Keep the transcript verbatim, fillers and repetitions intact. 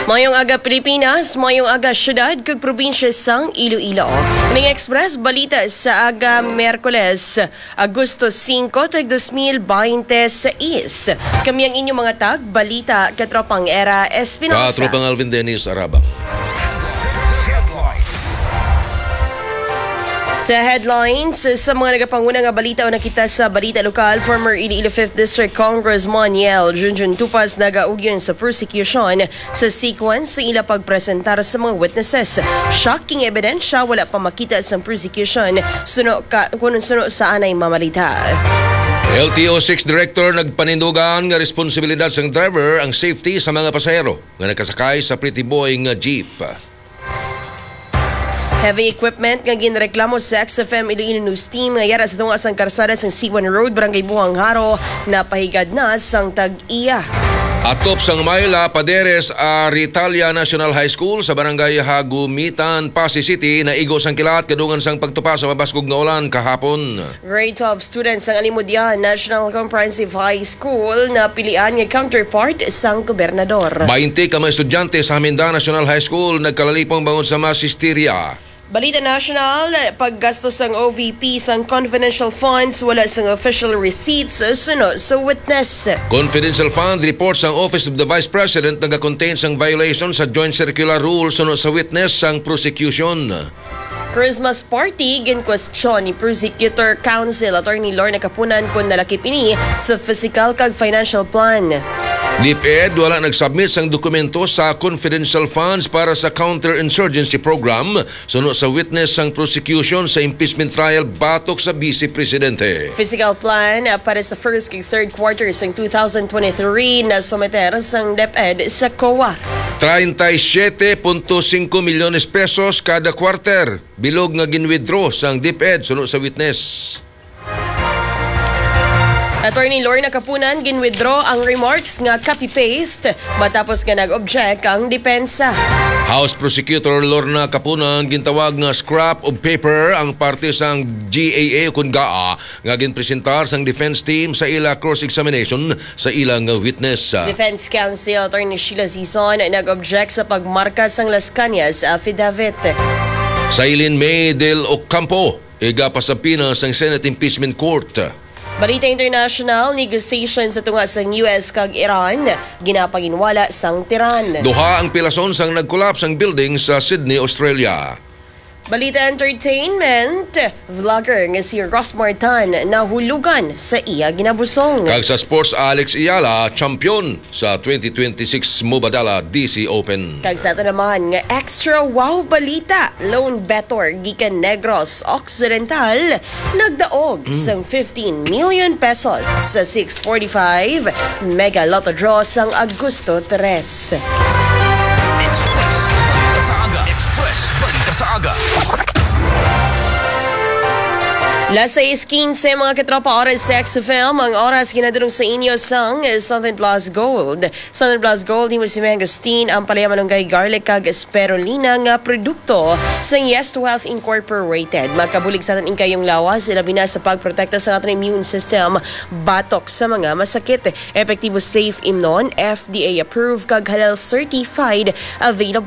Mayong aga, Pilipinas. Mayong aga, syudad kag probinsya sang Iloilo. Ning Express Balita sa aga, Miyerkules, Agosto singko, tag dos mil baynte sais. Kami ang inyong mga tag balita, Katropang Era Espinosa. Katropang Alvin Dennis Arabang. Sa headlines, sa mga nagapanguna nga balita, una kita sa balita lokal, former Iloilo fifth District Congressman Yel Junjun Tupas nagaugyon sa prosecution sa sequence sa ila pagpresentar sa mga witnesses. Shocking ebidensya, wala pa makita sa prosecution suno ka, kung suno sa anay mamalita. L T O six Director nagpanindugan nga responsibilidad sang driver ang safety sa mga pasahero nga nakasakay sa Pretty Boy nga jeep. Heavy equipment nga ginreklamo sa X F M Iloilo News Team nga yara sa tunga sang karsada sang C one Road, Barangay Buhang Jaro, napahigad na sang tag-iya. Atop sang Myla Paderes Aritalia National High School sa Barangay Hagumitan, Passi City, naigo sang kilat kadungan sang pagtupa sa mabaskog nga ulan kahapon. Grade twelve students sang Alimodian National Comprehensive High School napilian nga counterpart sang gobernador. Baynte ka mga estudyante sa Haminda National High School nagkalalipong bangod sa masisterya. Balita national, paggastos sang O V P sang confidential funds, wala sang official receipts, suno sa witness. Confidential fund report sang Office of the Vice President nagakontain sang violation sa Joint Circular Rule, suno sa witness sang prosecution. Christmas party, ginkwestiyon ni Prosecutor Counsel Attorney Lorna Kapunan kon nalakip ini sa physical kag financial plan. DepEd wala nagsubmit sang dokumento sa confidential funds para sa counter-insurgency program, suno sa witness sang prosecution sa impeachment trial batok sa Vice Presidente. Physical plan, ah, para sa first kag third quarter sang two thousand twenty-three na someter sang DepEd sa COA. Treinta y siete punto cinco milyones pesos kada quarter. Bilog nga gin-withdraw sang DepEd suno sa witness. Attorney Lorna Kapunan gin-withdraw ang remarks nga copy-paste matapos nga nag-object ang depensa. House Prosecutor Lorna Kapunan gintawag nga scrap of paper ang parte sang G A A ukon GAA nga ginpresentar sang defense team sa ila cross-examination sa ila nga witness. Defense Counsel Attorney Sheila Sison nag-object sa pagmarka sang Las Cañas affidavit. Sailin May del Ocampo, igapasabina sang Senate Impeachment Court. Balita international, negotiation sa tunga sang U S kag Iran ginapanginwala sang Tehran. Duha ang pilason sang nagkulaps ang building sa Sydney, Australia. Balita entertainment, vlogger nga si Rosmar Tan nahulugan sa iya ginabusong. Kag sa sports, Alex Eala, champion sa twenty twenty-six Mubadala D C Open. Kag sa ato naman nga extra wow balita, lone bettor gikan Negros Occidental nagdaog sang fifteen million pesos sa six forty-five Mega Lotto Draw sang Agosto tres. Express Balita sa Aga. Express Balita sa Aga. Las sais quince, mga katropa, oras sa X F M. Ang oras ginadulong sa inyo sang Southern Plus Gold. Southern Plus Gold, himo si Mangosteen, ang palaya, malunggay, garlic, kag spirulina nga produkto sang Yes to Health Incorporated. Makabulig sa aton ing kayong lawas, ilabi na sa pagprotekta sa aton immune system batok sa mga masakit. Epektibo, safe, imnon, F D A approved, kag halal certified. Available